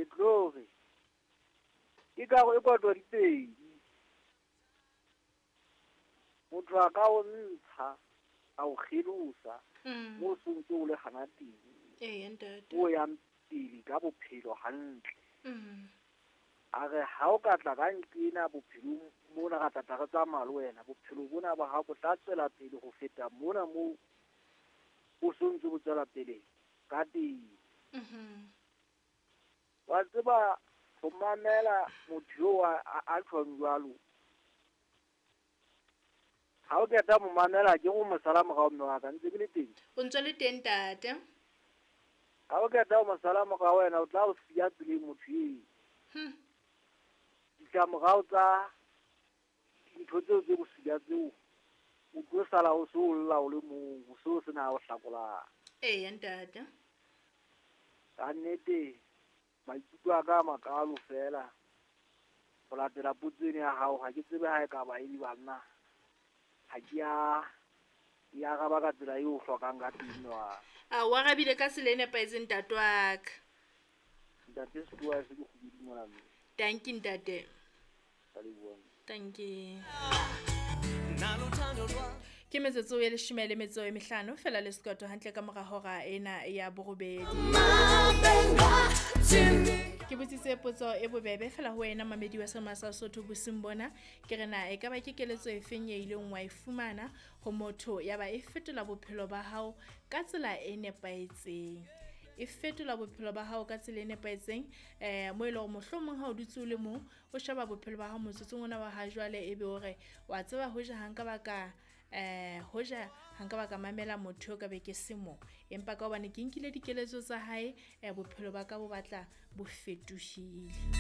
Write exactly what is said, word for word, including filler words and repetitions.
Ke tlo re ke karo e kotwa di pedi. Motho a ka o ntsha, a o kgelosa, Mm. moo o sontso o le hana teng. Eya ntate. O yang pele ka bophelo hantle. Mm. A re ha o ka tla ka nqena bophelong mona ra tla tla re tsamaya le wena, bophelo bona ba hao bo tla tswela pele ho feta mona moo o sontso bo tswela pele ka teng. Mhm. Wa tseba ho mamela motho eo a, a, a tjhong jwalo. Ha o qeta mo mamela ke go mo sala morao mme wa ka, ntse ke le teng. O ntso le teng ntate. Ha o qeta ho mo sala morao wena o tla o siya tseleng motho eo. Hmm. Ditlamorao tsa dintho tseo tse bosula tseo, o tlo sala o so lla o le mong, o so sena o hlakolang. Eya ntate. Ka nnete maikutlo a ka a makalo fela ho latela potso ena ya hao, ha ke tsebe ha e ka ba e le banna. Ha ke a e araba ka tsela eo o hlokang ka teng wa. A o arabile ka tsela e nepahetseng ntate wa ka. Ntate Setuwa se ke kgubedi mona mme. Dankie ntate. Ka leboha. Dankie. Ke metsotso e leshome le metso e mehlano fela le sekoto hantle ka mora hora ena ya borobedi. Ke botsitse potso e bobebe fela ho wena mamedi wa Selma sa Sotho bosiung bona. Ke re na e ka ba ke keletso e feng e ileng wa e fumana ho motho ya ba e fetola bophelo ba hao ka tsela e nepahetseng? E fetola bophelo ba hao ka tsela e nepahetseng, eh, mo e leng hore mohlomong ha o dutse o le mong, o sheba bophelo ba hao motsotsong ona wa ha jwale, ebe o re, wa tseba hoja ha nka ba ka, eh, hoja ha nka ba ka mamela motho eo ka be ke se mo. Empa ka hobane ke nkile dikeletso tsa hae, eh, bophelo ba ka bo batla bo fetohile.